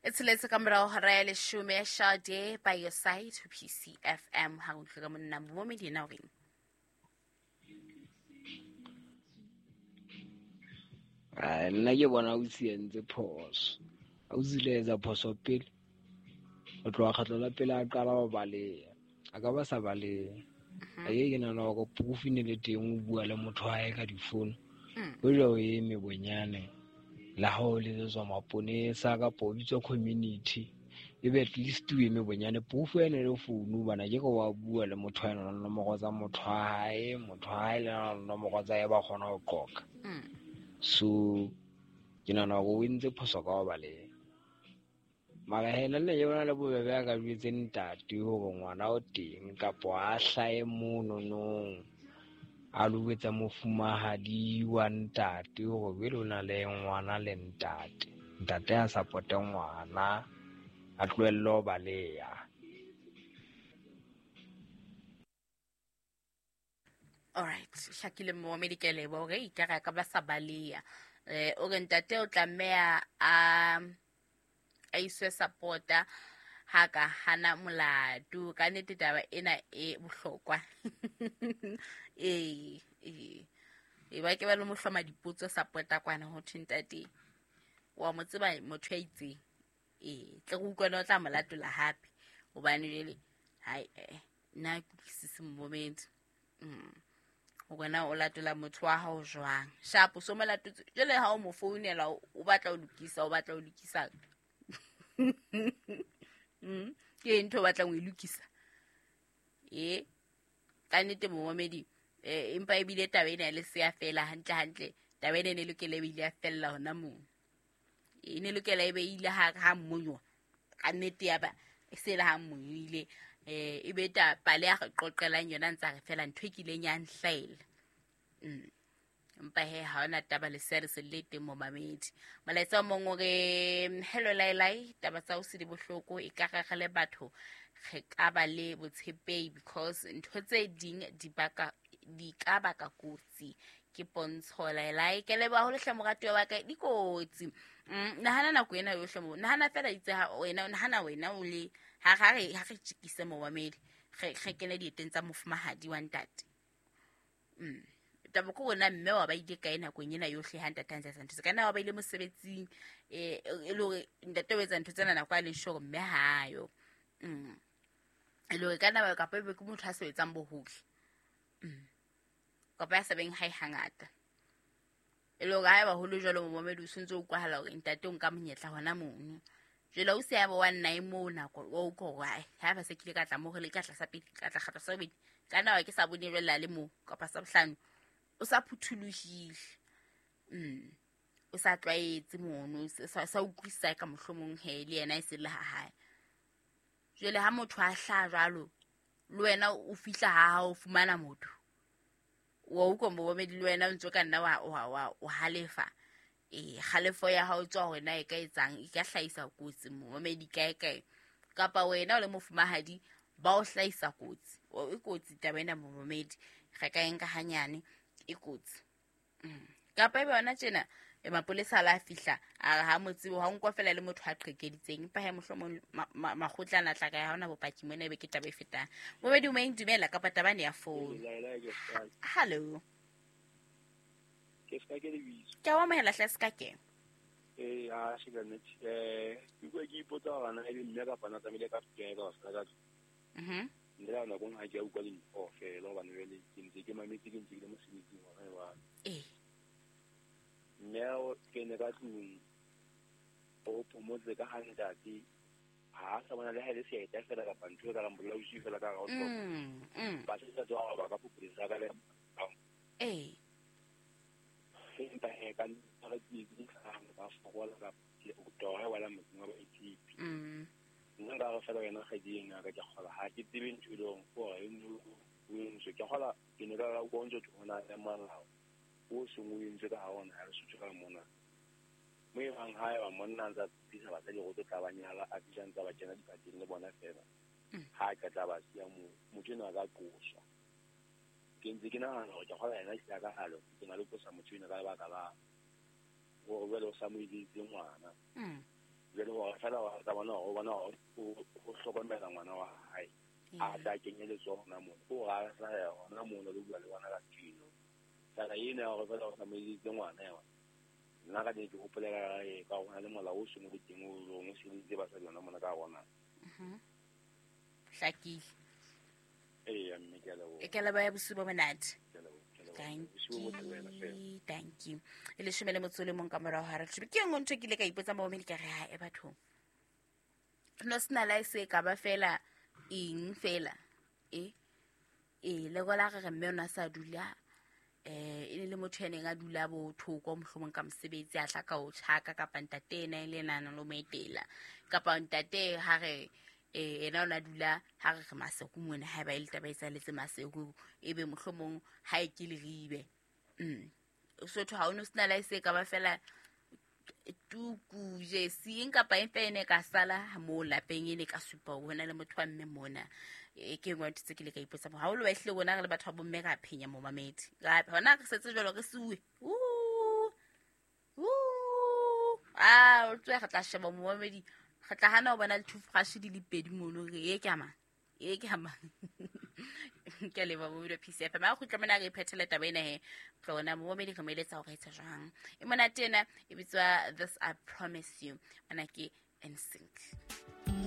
E tsheletse ka morago hora ya leshome, Sade by your side ho PCFM. Ha re utlwe ka monna momamedi ena o reng? Ai, nna ke bona o entse phoso. Ausi le etsa phoso pele. Ho tloha kgetlo la pele a qala ho baleha. A ka ba sa baleha. Aye ke nahana hore proof e ne le teng o bua le motho wa hae ka difono. Hoja o eme bonyane le ha o letsetswa maponesa kapa o bitswa community, ebe at least o eme bonyane proof ene le founu bana ke re wa bua le motho wa ena nomoro tsa motho wa hae, motho wa hae le na le nomoro tsa hae ba kgona ho qoqa. So ke nahana hore o entse phoso ka ho baleha. Mara he nna ke bona le bobebe a ka jwetse ntate hore ngwana o teng kapo a hlahe mononong a lo etsa mofumahadi wa ntate hore jwale o na le ngwana le ntate. Ntate a support-e ngwana, a tlohelle ho baleha. Alright, hlakile momamedi, ke a leboha hore ekare a ka ba sa baleha. O re ntate o tlameha a iswe support-a ha ka hana molato. Ka nnete taba ena e bohlokwa. Ee, ee. E ba ke ba le mo hloma dipotso support-a kwana ho thwe ntate wa mo tseba motho ya itseng. Ee, tle re utlwane o tla mo latola hape. Hobane jwale, hai, nna ke utlwisise momamedi. Hore na o latola motho wa hao jwang. Sharp, so mo latotse. Jwale ha o mo founela, o batla ho lokisa, o batla ho lokisa. Ke ntho o batlang ho e lokisa. Ee, ka nnete momamedi, empa ebile taba ena e le seya fela hantle hantle. Taba ena e ne lokela e be ile ya fella hona moo. E ne lokela e be ile ha mmonywa. Ka nnete ya ba e se le ha mmonywile. E be ta pale ya re qoqelang yona ntse a re fela ntho e kileng ya nhlaela. Empa he ha hona taba le se re se le teng momamedi. Molaetsa o mong o re, hello Lailai, taba tsa o se di bohloko, e ka re re le batho re ka ba le botshepehi because ntho tse ding di baka, di ka baka kotsi. Ke pontsho Lailai, ke leboha haholo hle moratuwa wa ka, di kotsi. Nahana nako ena yohle mo, nahana fela itse ha wena, nahana wena o le ha ha re ha re tjekise momamedi, re kene dieteng tsa mofumahadi wa ntate. Taba ke hore mme wa ba ile kae nakong ena yohle ha ntate a ntse a etsa ntho tse. Ka nna wa ba ile mosebetsing, e le hore ntate o etsa ntho tsena nako a leng sure mme ha yo. E le hore ka nna kapa ebe ke motho a sebetsang bohole. Kapa ya sa beng hae hangata. E le hore haeba ho le jwalo momamedi o sentse o utlwahala hore ntate o nka monyetla hona mono. Jwale o se ya ba wa nna e moo nako, wa utlwa hore, ai, haeba se kile ka tla moo, re le ka tla sa pele, ka tla kgatla sa bobedi. Ka nna wa ke sa bone jwale a le moo, kapa sa bohlano. O sa phuthulohile. O sa tlwaetse mono, o sa utlwisisa ka mohlomong he le yena e se le ha hae. Jwale ha motho a hlaha jwalo, le wena o fihla ha hao o fumana motho. Wa utlwa momamedi le wena o ntse o ka nna wa halefa. Kgalefo ya hao e tswa hore na e ka etsang, e ka hlahisa kotsi momamedi kae kae. Kapa wena o le mofumahadi ba o hlahisa kotsi. O, e kotsi taba ena momamedi. Re ka e nka hanyane, e kotsi. Kapa ebe yona tjena, mapolesa a la fihla, a re ha mo tsebe, ha o nkwa fela le motho a qhekeditseng. Empa he mohlomong makgotla ana a tla kae, ha hona bopaki mona, ebe ke taba e fetang. Momamedi o meng dumela kapa taba ene ya phone. Hello. Ke ska ke lebitso. Ke a o amohela hle ska ke. Ee, ha se ka nnete. Ke bua ke ipotsa hore na ebe mme kapa na tlamehile ka tlung ka ka ka tlung. Nna la nako ha ke a utlwa dintho fela hobane jwale ke ntse ke mametse, ke ntse ke le mosebetsing hona jwale. Mme o kene ka tlung, o phomotse ka ha ntate, ha a sa bona le ha e le seeta fela kapa ntho e ka reng bolausi fela ka hara ho hloka. Ba se sa tswa ba ka phopholetsa ka le. Empa he ka ntho tse di hlahang ba fokola ka o toha wa la motseng wa baitshepi. Nna nka re fela wena kgwedi ena ka ke kgola ha ke tsebe ntho e leng gore e no o entswe. Ke kgola ke ne ka ra utlwa o ntse o thona le molao o seng o entswe ka ha ona ha re Sotho ka mona. Mo e bang ha eba monna a ntse a tlisa basadi go tlo tla ba nyala, a fihla ntse a ba kena diphateng le bona fela. Ha a qeta ba siya moo, motho enwa a ka qoswa. Ke ntse ke nahana hore ke kgola yena ehlile a ka halo, ke na le qosa motho enwa ka lebaka la hore jwale o sa mo etseditse ngwana. Jwale hore fela wa tsa bona hore o bona hore o hlokomela ngwana wa hae. A tla kenye letsoho hona mono. Ke hore a hlahe hona mono le bua le ngwana ka ntho. Taba ena ya hore fela o tsamaisitse ngwana yona. Nna ka ke hopolela ka hona le molao o seng o le teng o leng o sebeditse basadi hona mona ka rona. Hlakile. Eya mme ke a leboha. Ke a leboha ya bosiu bo monate. Ke a leboha. Thank you, thank you. E leshome le motso o le mong ka morao ha re leshome. Ke e nngwe ntho e ke ile ka ipotsa momedi ka re ha e bathong. No sena la e se ka ba fela eng fela. E le gola re re mme o na sa dula e ne le motho ya neng a dula bo thoko mohlomong ka mosebetsi a tla ka o tjhaka kapa ntate ena e le ena a nang le mo etela kapa ntate ha re ena o na dula ha re re Maseru mona ha eba e le taba e etsahaletse Maseru ebe mohlomong ha e ke Leribe. Sotho ha o no sena la e se ka ba fela tuku jesi eng kapa eng fela e ne ka sala mo lapeng e ne ka supa hore hona le motho wa mme mona. Ke engwe ya ntho tse ke ile ka ipotsa haholo ba ehlile rona re le batho ba bomme ra phenya momamedi. Ra hona re setse jwalo re siuwe. O tswe re tla sheba momamedi. Re tla hana ho bona le toothbrush di le pedi mono re e ke ama. E ke ama. Ke a leboha momamedi wa PCFM. Ha o kgutla mona re phethele taba ena he. Tlona momamedi re mo eletsa hore etsa jwang. E monate ena e bitswa This I Promise You. Mona ke NSYNC.